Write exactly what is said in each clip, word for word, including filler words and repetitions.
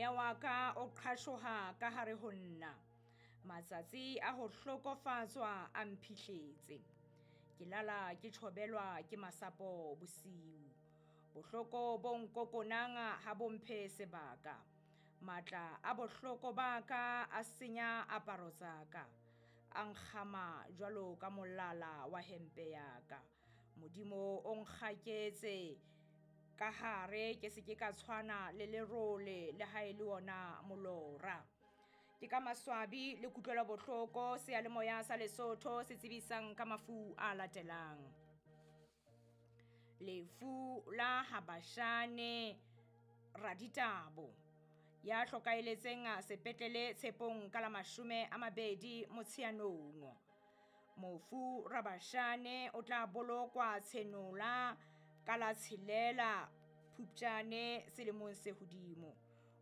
Moya wa ka o qhashoha ka hare ho nna. Matsatsi a ho hlokofatswa a mphihletse. Ke lala ke tjhobelwa ke masapo bosiu. Bohloko bo nkokonang ha bo mphe sebaka. Matla a bohloko ba ka a senya aparo tsa ka. A nkgama jwalo ka molala wa hempe ya ka. Modimo o nkgaketse ka hare ke se ke ka tshwana le lerole le ha e le ona molora. Ke ka maswabi le kutlwelo bohloko seyalemoya sa Lesotho se tsebisang ka mafu a latelang. Lefu la Habashane Raditabo ya hlokaeletseng sepetlele Tshepong ka la mashome a mabedi Motsheanong. Mofu Rabashane o tla bolokwa Tshenola ka la tshelela Phupjane selemong se hodimo.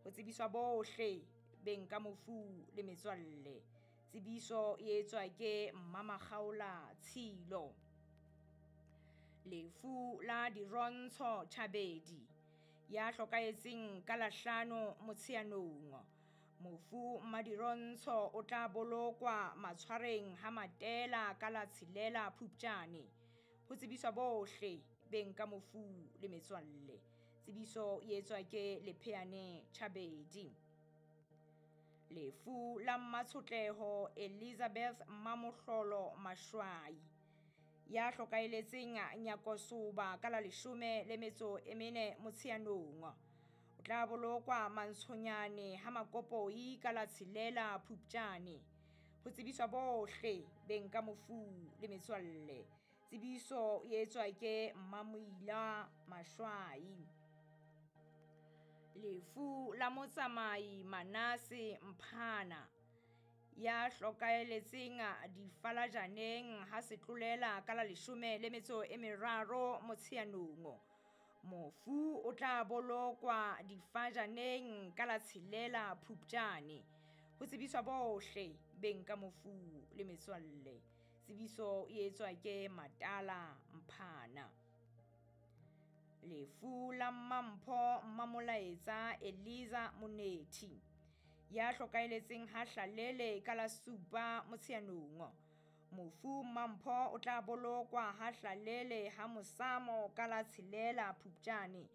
Ho tsebiswa bohle beng ka mofu le metswalle. Tsebiso e etswa ke Mmamakgaola Tshilo. Lefu la Dirontsho Tjhabedi ya hlokahetseng ka la hlano Motsheanong. Mofu Mmadirontsho o tla bolokwa Matshwareng ha Matela ka la tshelela Phupjane. Ho tsebiswa bohle beng ka mofu le metswalle. Tsebiso e etswa ke Lepheane Tjhabedi. Lefu la Mmatshotleho Elizabeth Mamohlolo Mashwai ya hlokaeletseng Nyakosoba ka la leshome le metso e mene Motsheanong. O tla bolokwa Mantshonyane ha Makopoi ka la tshelela Phupjane. Ho tsebiswa bohle beng ka mofu le metswalle. Tsebiso e etswa ke Mmamoila Mashwai. Lefu la Motsamai Manase Mphana ya hlokaeletseng Difalajaneng ha setlolela ka la leshome le metso e meraro Motsheanong. Mofu o tla bolokwa Difajaneng ka la tshelela Phupjane. Ho tsebiswa bohle beng ka mofu le metswalle. Tsebiso e etswa ke Matala Mphana. Lefu la Mmampho Mmamolaetsa Eliza Monethi ya hlokaeletseng ha Hlalele ka la supa Motsheanong. Mofu Mmampho o tla bolokwa ha Hlalele ha Mosamo ka la tshelela Phupjane.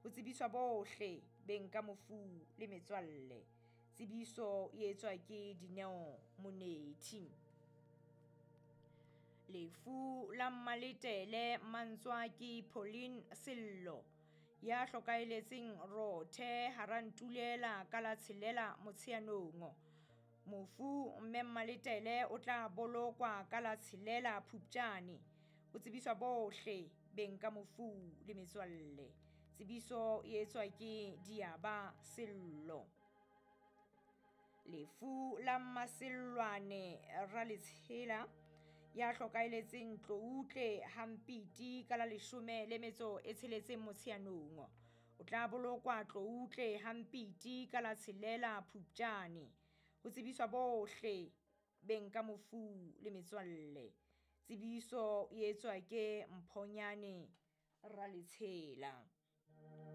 Ho tsebiswa bohle beng ka mofu le metswalle. Tsebiso e etswa ke Dineo Monethi. Lefu la Mmaletele Mantswaki Pauline Sello ya hlokaeletseng Rothe hara Ntulela ka la tshelela Motsheanong. Mofu mme Mmaletele o tla bolokwa ka la tshelela Phupjane. Ho tsebiswa bohle beng ka mofu le metswalle. Tsebiso e etswa ke Diaba Sello. Lefu la Mmasellwane Raletshela ya hlokaeletseng Tloutle Hampiti ka la leshome le metso e tsheletseng Motsheanong. O tla bolokwa Tloutle Hampiti ka la tshelela Phupjane. Ho tsebiswa bohle beng ka mofu le metswalle. Tsebiso e etswa ke Mphonyane Raletshela.